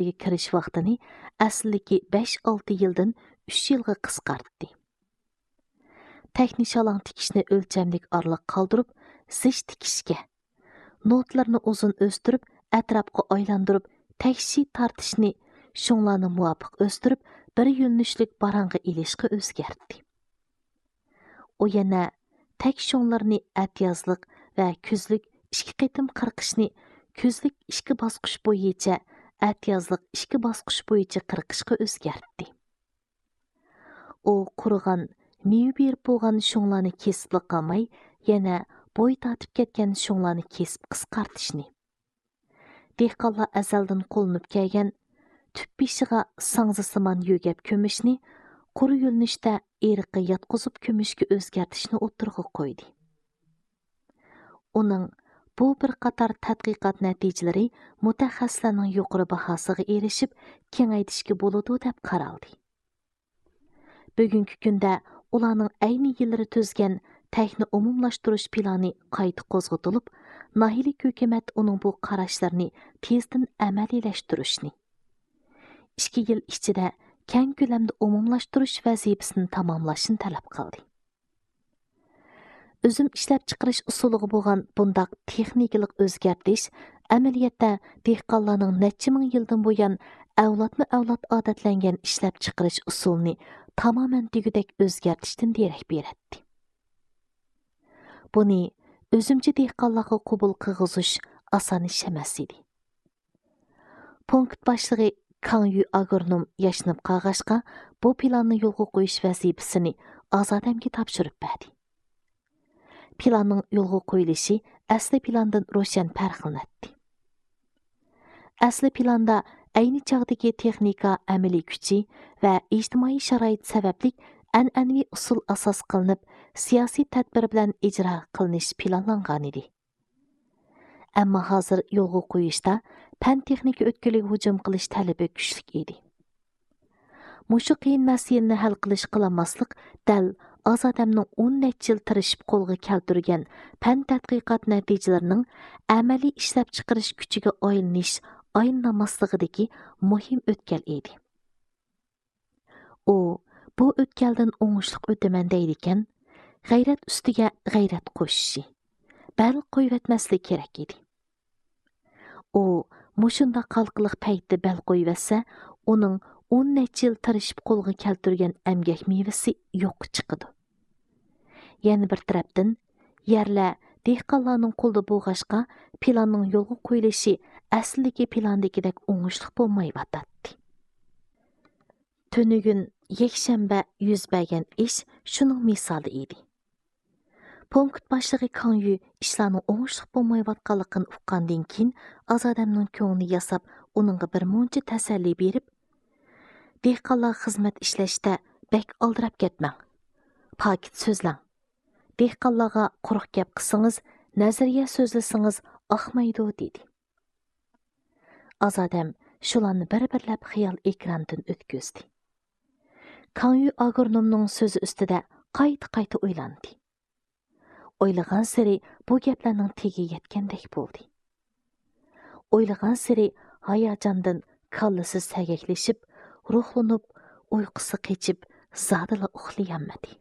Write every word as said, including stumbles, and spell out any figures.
مەكتىپىگە كىرىش ۋاقتىنى ئەسلىدىكى بەش-ئالتە يىلدىن ئۈچ يىلغا قىسقارتتى. تەكنە شالاڭ تىكىشنى ئۆلچەملىك ئارىلىق قالدۇرۇپ، زىچ تىكىشكە، نوتىلىرىنى ئۇزۇن ئۆستۈرۈپ، ئەتراپقا ئايلاندۇرۇپ، تەكشى تارتىشنى، شۇڭلارنى مۇۋاپىق ئۆستۈرۈپ، بىر يۆنىلىشلىك باراڭغا ئېلىشقا ئۆزگەرتتى. ئۇ يەنە تەك شۇڭلىرىنى ئەتىيازلىق ۋە كۈزلۈك ئىككى قېتىم قىرقىشنى، كۈزلۈك ئىككى باسقۇچ بويىچە، ئەتىيازلىق ئىككى باسقۇچ بويىچە قىرقىشقا ئۆزگەرتتى. ئۇ قۇرۇغان، مېۋە بېرىپ بولغان شۇڭلارنى كېسىپلا قالماي، يەنە بوي تارتىپ كەتكەن شۇڭلارنى كېسىپ قىسقارتىشنى، دېھقانلار ئەزەلدىن قوللىنىپ كەلگەن تۈپ بېشىغا ساڭزىسىمان يۆگەپ كۆمۈشنى قۇر يۆنىلىشتە ئېرىققا ياتقۇزۇپ كۆمۈشكە ئۆزگەرتىشنى ئوتتۇرىغا قويدى. ئۇنىڭ بۇ بىر قاتار تەتقىقات نەتىجىلىرى مۇتەخەسسىسلەرنىڭ يۇقىرى باھاسىغا ئېرىشىپ، كېڭەيتىشكە بولىدۇ دەپ قارالدى. بۈگۈنكى كۈندە ئۇلارنىڭ ئەينى يىللىرى تۈزگەن تەكنە ئومۇملاشتۇرۇش پىلانى قايتا قوزغىتىلىپ، ناھىيەلىك ھۆكۈمەت ئۇنىڭ بۇ قاراشلىرىنى تېزدىن ئەمەلىيلەشتۈرۈشنى، ئىككى يىل ئىچىدە كەڭ كۆلەمدە ئومۇملاشتۇرۇش ۋەزىپىسىنى تاماملاشنى تەلەپ قىلدى. ئۈزۈم ئىشلەپچىقىرىش ئۇسۇلىغا بولغان بۇنداق تېخنىكىلىق ئۆزگەرتىش ئەمەلىيەتتە دېھقانلارنىڭ نەچچە مىڭ يىلدىن بۇيان ئەۋلادمۇ ئەۋلاد ئادەتلەنگەن ئىشلەپچىقىرىش ئۇسۇلىنى تامامەن دېگۈدەك ئۆزگەرتىشتىن دېرەك بېرەتتى. بۇنى ئۈزۈمچى دېھقانلارغا قوبۇل قىلغۇزۇش ئاسان ئىش ئەمەس ئىدى. پونكىت باشلىقى كاڭ يۈ ئاگرونوم ياشىنىپ قالغاچقا، بۇ پىلاننى يولغا قويۇش ۋەزىپىسىنى ئازادەمگە تاپشۇرۇپ بەردى. پىلاننىڭ يولغا قويۇلۇشى ئەسلى پىلاندىن روشەن پەرقلىنەتتى. ئەسلى پىلاندا ئەينى چاغدىكى تېخنىكا ئەمەلىي كۈچى ۋە ئىجتىمائىي شارائىت سەۋەبلىك ئەنئەنىۋى ئۇسۇل ئاساس قىلىنىپ، سىياسىي تەدبىر بىلەن ئىجرا قىلىنىش پىلانلانغانىدى. ئەمما ھازىر يولغا قويۇشتا پەن-تېخنىكا ئۆتكىلىگە ھۇجۇم قىلىش تەلىپى كۈچلۈك ئىدى. مۇشۇ قىيىن مەسىلىنى ھەل قىلىش قىلالماسلىق دەل ئازادەمنىڭ ئون نەچچە يىل تىرىشىپ قولغا كەلتۈرگەن پەن تەتقىقات نەتىجىلىرىنىڭ ئەمەلىي ئىشلەپچىقىرىش كۈچىگە ئايلىنىش، ئايلىنالماسلىقىدىكى مۇھىم ئۆتكەل ئىدى. ئۇ بۇ ئۆتكەلدىن ئوڭۇشلۇق ئۆتىمەن دەيدىكەن، غەيرەت ئۈستىگە غەيرەت قوشۇشى، بەل قويۇۋەتمەسلىك كېرەك ئىدى. ئۇ مۇشۇنداق ھالقىلىق پەيتتە بەل قويۇۋەتسە، ئۇنىڭ ئون نەچچە يىل تىرىشىپ قولغا كەلتۈرگەن ئەمگەك مېۋىسى يوققا چىقىدۇ. يەنە بىر تەرەپتىن، يەرلەر دېھقانلارنىڭ قولىدا بولغاچقا، پىلاننىڭ يولغا قويۇلۇشى ئەسلىدىكى پىلاندىكىدەك ئوڭۇشلۇق بولمايۋاتاتتى. تۈنۈگۈن يەكشەنبە يۈز بەرگەن ئىش شۇنىڭ مىسالى ئىدى. پونكىت باشلىقى كاڭ يۈ ئىشلارنىڭ ئوڭۇشلۇق بولمايۋاتقانلىقىنى ئۇققاندىن كېيىن، ئازادەمنىڭ كۆڭلىنى ياساپ، ئۇنىڭغا بىر مۇنچە تەسەللى بېرىپ، دېھقانلارغا خىزمەت ئىشلەشتە بەك ئالدىراپ كەتمەڭ. پاكىت سۆزلەڭ. دېھقانلارغا قۇرۇق گەپ قىلسىڭىز، نەزەرىيە سۆزلىسىڭىز ئاقمايدۇ، دېدى. ئازادەم شۇلارنى بىر-بىرلەپ خىيال ئېكرانىدىن ئۆتكۈزدى. كاڭ يۈ ئاگرونومنىڭ سۆزى ئۈستىدە قايتا-قايتا ئويلاندى. ئويلىغانسېرى بۇ گەپلەرنىڭ تېگى يەتكەندەك بولدى. ئويلىغانسېرى ھاياجاندىن كاللىسى سەگەكلىشىپ، روھلىنىپ، ئۇيقۇسى قېچىپ، زادىلا ئۇخلىيالمىدى.